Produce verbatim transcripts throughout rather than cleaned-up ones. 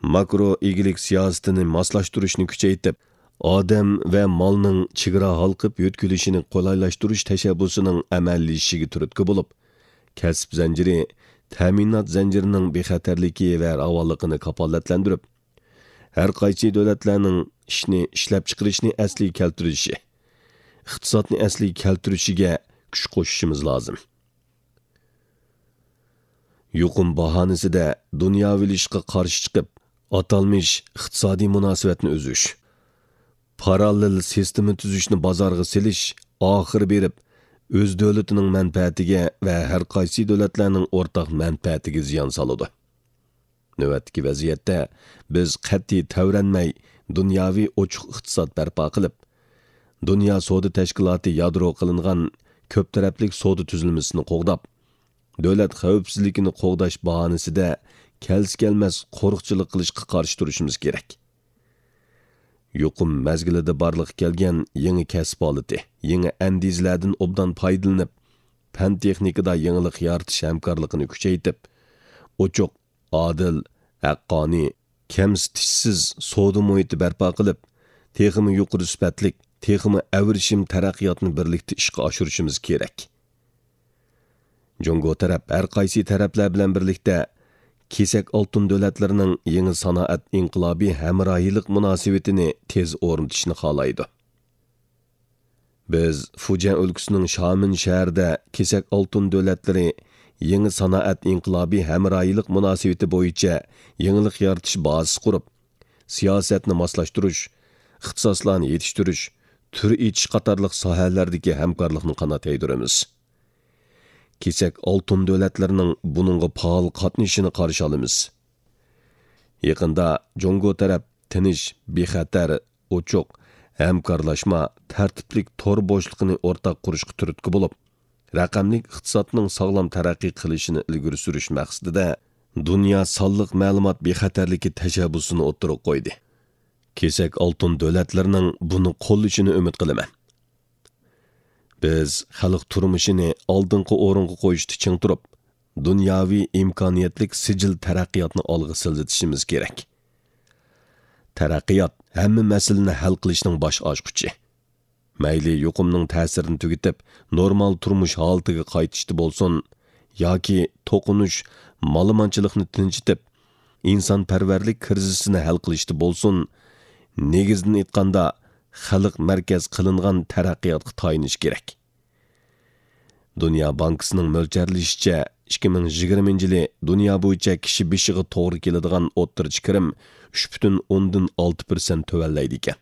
ماكرو ئىگىلىك سىياسىتىنى ماسلاشتۇرۇشنى كۈچەيتىپ، ئادەم ۋە مالنىڭ چېگرا ھالقىپ يۆتكىلىشىنى قولايلاشتۇرۇش تەشەببۇسىنىڭ ئەمەلىيلىشىشىگە تۈرتكە بولۇپ، كەسىپ زەنجىرى، تەمىنات زەنجىرىنىڭ بىخەتەرلىكى ۋە راۋانلىقىنى كاپالەتلەندۈرۈپ، ھەر قايسى دۆلەتلەرنىڭ ئىشنى ئىشلەپچىقىرىشنى ئەسلىگە كەلتۈرۈشى، ئىقتىسادنى ئەسلىگە كەلتۈرۈشىگە كۈچ قوشۇشىمىز لازىم. يۇقۇم باھانىسىدە دۇنياۋىلىشىشقا قارشى چىقىپ، ئاتالمىش ئىقتىسادىي مۇناسىۋەتنى ئۈزۈش، پاراللېل سىستېما تۈزۈشنى بازارغا سېلىش ئاخىرى بېرىپ، ئۆز دۆلىتىنىڭ مەنپەئەتىگە ۋە ھەر قايسى دۆلەتلەرنىڭ ئورتاق مەنپەئەتىگە زىيان سالىدۇ. نۆۋەتتىكى ۋەزىيەتتە بىز قەتئىي تەۋرەنمەي، دۇنياۋى ئوچۇق ئىقتىساد بەرپا قىلىپ، دۇنيا سودا تەشكىلاتى يادرو قىلىنغان كۆپ تەرەپلىك سودا تۈزۈلمىسىنى قوغداپ، دۆلەت خەۋپسىزلىكىنى قوغداش باھانىسىدە كەلسە-كەلمەس قورۇقچىلىق قىلىشقا قارشى تۇرۇشىمىز كېرەك. يۇقۇم مەزگىلىدە بارلىققا كەلگەن يېڭى كەسىپ ھالىتى، يېڭى ئەندىزىلەردىن ئوبدان پايدىلىنىپ، پەن-تېخنىكىدا يېڭىلىق يارىتىش ھەمكارلىقىنى كۈچەيتىپ، ئوچۇق، ئادىل، ھەققانىي، كەمسىتىشسىز سودا مۇھىتى بەرپا قىلىپ، تېخىمۇ يۇقىرى سۈپەتلىك، تېخىمۇ ئەۋرىشىم تەرەققىياتنى بىرلىكتە ئىشقا ئاشۇرۇشىمىز كېرەك. جۇڭگو تەرەپ ھەر قايسى تەرەپلەر بىلەن بىرلىكتە كېسەك ئالتۇن دۆلەتلىرىنىڭ يېڭى سانائەت ئىنقىلابى ھەمراھىيلىق مۇناسىۋىتىنى تېز ئورنىتىشنى خالايدۇ. بىز فۇجيەن ئۆلكىسىنىڭ شامېن شەھىرىدە كېسەك ئالتۇن دۆلەتلىرى يېڭى سانائەت ئىنقىلابى ھەمراھىيلىق مۇناسىۋىتى بويىچە يېڭىلىق يارىتىش بازىسى قۇرۇپ، سىياسەتنى ماسلاشتۇرۇش، ئىختىساسلارنى يېتىشتۈرۈش، تۈر ئېچىش قاتارلىق ساھەلەردىكى ھەمكارلىقنى قانات يايدۇرىمىز. كېسەك ئالتۇن دۆلەتلىرىنىڭ بۇنىڭغا پائال قاتنىشىشىنى قارشى ئالىمىز. يېقىندا جۇڭگو تەرەپ تىنچ، بىخەتەر، ئوچۇق، ھەمكارلاشما، تەرتىپلىك تور بوشلۇقىنى ئورتاق قۇرۇشقا تۈرتكە بولۇپ، رەقەملىك ئىقتىسادنىڭ ساغلام تەرەققىي قىلىشىنى ئىلگىرى سۈرۈش مەقسىتىدە دۇنيا سانلىق مەلۇمات بىخەتەرلىكى تەشەببۇسىنى ئوتتۇرىغا قويدى. كېسەك ئالتۇن دۆلەتلىرىنىڭ بۇنى قوللىشىنى ئۈمىد قىلىمەن. بىز خەلق تۇرمۇشىنى ئالدىنقى ئورۇنغا قويۇشتا چىڭ تۇرۇپ، دۇنياۋى ئىمكانىيەتلىك سىجىل تەرەققىياتنى ئالغا سىلجىتىشىمىز كېرەك. تەرەققىيات ھەممە مەسىلىنى ھەل قىلىشنىڭ باش ئاچقۇچى. مەيلى يۇقۇمنىڭ تەسىرىنى تۈگىتىپ، نورمال تۇرمۇش ھالىتىگە قايتىشتا بولسۇن، ياكى توقۇنۇش، مالىمانچىلىقنى تىنچىتىپ، ئىنسانپەرۋەرلىك كىرىزىسىنى ھەل قىلىشتا بولسۇن، نېگىزىدىن ئېيتقاندا، خەلق مەركەز قىلىنغان تەرەققىياتقا تايىنىش كېرەك. دۇنيا بانكىسىنىڭ مۆلچەرلىشىچە، ئىككى مىڭ يىگىرمىنچى يىلى دۇنيا بويىچە كىشى بېشىغا توغرا كېلىدىغان ئوتتۇرىچە كىرىم ئۈچ پۈتۈن ئوندىن ئالتە پىرسەنت تۆۋەنلەيدىكەن.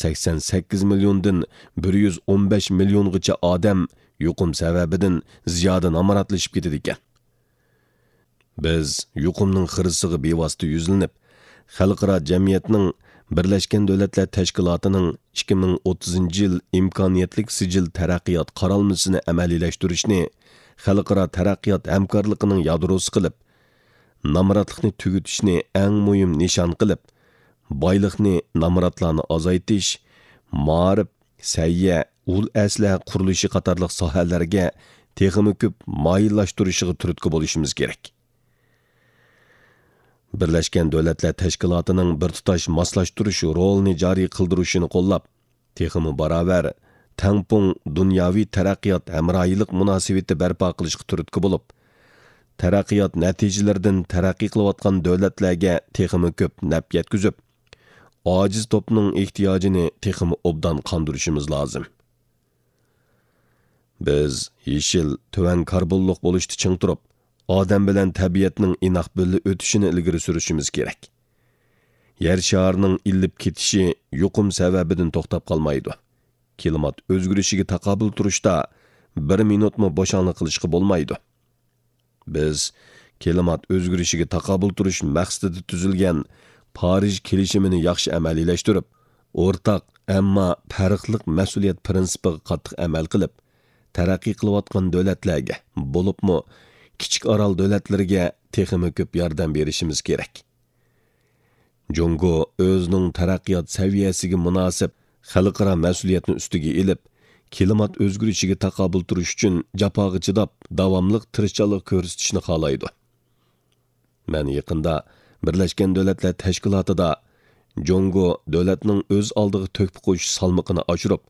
سەكسەن سەككىز مىليوندىن بىر يۈز ئون بەش مىليونغىچە ئادەم يۇقۇم سەۋەبىدىن زىيادە نامراتلىشىپ كېتىدىكەن. بىز يۇقۇمنىڭ خىرىسىغا بىۋاسىتە يۈزلىنىپ، خەلقئارا جەمئىيەتنىڭ، بىرلەشكەن دۆلەتلەر تەشكىلاتىنىڭ ئىككى مىڭ ئوتتۇزىنچى يىل ئىمكانىيەتلىك سىجىل تەرەققىيات قارالمىسىنى ئەمەلىيلەشتۈرۈشنى خەلقئارا تەرەققىيات ھەمكارلىقىنىڭ يادروسى قىلىپ، نامراتلىقنى تۈگىتىشنى ئەڭ مۇھىم نىشان قىلىپ، بايلىقنى نامراتلارنى ئازايتىش، مائارىپ، سەھىيە، ئۇل ئەسلىھە قۇرۇلۇشى قاتارلىق ساھەلەرگە تېخىمۇ كۆپ مايىللاشتۇرۇشىغا تۈرتكە بولۇشىمىز كېرەك. بىرلەشكەن دۆلەتلەر تەشكىلاتىنىڭ بىر تۇتاش ماسلاشتۇرۇش رولىنى جارى قىلدۇرۇشىنى قوللاپ، تېخىمۇ باراۋەر، تەڭپۇڭ دۇنياۋى تەرەققىيات ھەمراھىيلىق مۇناسىۋىتى بەرپا قىلىشقا تۈرتكە بولۇپ، تەرەققىيات نەتىجىلىرىدىن تەرەققىي قىلىۋاتقان دۆلەتلەرگە تېخىمۇ كۆپ نەپ يەتكۈزۈپ، ئاجىز توپنىڭ ئېھتىياجىنى تېخىمۇ ئوبدان قاندۇرۇشىمىز لازىم. بىز يېشىل، تۆۋەن كاربونلۇق بولۇشتا چىڭ تۇرۇپ، ئادەم بىلەن تەبىئەتنىڭ ئىناق بىللە ئۆتۈشىنى ئىلگىرى سۈرۈشىمىز كېرەك. يەر شارىنىڭ ئىللىپ كېتىشى يۇقۇم سەۋەبىدىن توختاپ قالمايدۇ. كىلىمات ئۆزگىرىشىگە تاقابىل تۇرۇشتا بىر مىنۇتمۇ بوشاڭلىق قىلىشقا بولمايدۇ. بىز كىلىمات ئۆزگىرىشىگە تاقابىل تۇرۇش مەقسىتىدە تۈزۈلگەن پارىژ كېلىشىمىنى ياخشى ئەمەلىيلەشتۈرۈپ، ئورتاق، ئەمما پەرقلىق مەسئۇلىيەت پىرىنسىپىغا قاتتىق ئەمەل قىلىپ، تەرەققىي قىلىۋاتقان دۆلەتلەرگە، بولۇپمۇ كىچىك ئارال دۆلەتلىرىگە تېخىمۇ كۆپ ياردەم بېرىشىمىز كېرەك. جۇڭگو ئۆزىنىڭ تەرەققىيات سەۋىيەسىگە مۇناسىپ خەلقئارا مەسئۇلىيەتنى ئۈستىگە ئېلىپ، كىلىمات ئۆزگىرىشىگە تاقابىل تۇرۇش ئۈچۈن جاپاغا چىداپ، داۋاملىق تىرىشچانلىق كۆرسىتىشنى خالايدۇ. مەن يېقىندا بىرلەشكەن دۆلەتلەر تەشكىلاتىدا جۇڭگو دۆلەتنىڭ ئۆز ئالدىغا تۆھپە قوشۇش سالمىقىنى ئاشۇرۇپ،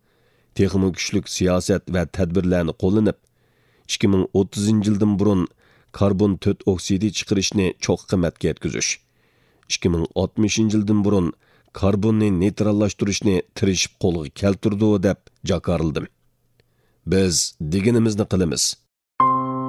تېخىمۇ كۈچلۈك سىياسەت ۋە تەدبىرلەرنى قوللىنىپ، ئىككى مىڭ ئوتتۇزىنچى يىلدىن بۇرۇن كاربون تۆت ئوكسىدى چىقىرىشنى چوققا قىممەتكە يەتكۈزۈش، ئىككى مىڭ ئاتمىشىنچى يىلدىن بۇرۇن كاربوننى نېيتراللاشتۇرۇشنى تىرىشىپ قولغا كەلتۈردۇق، دەپ جاكارلىدىم. بىز دېگىنىمىزنى قىلىمىز.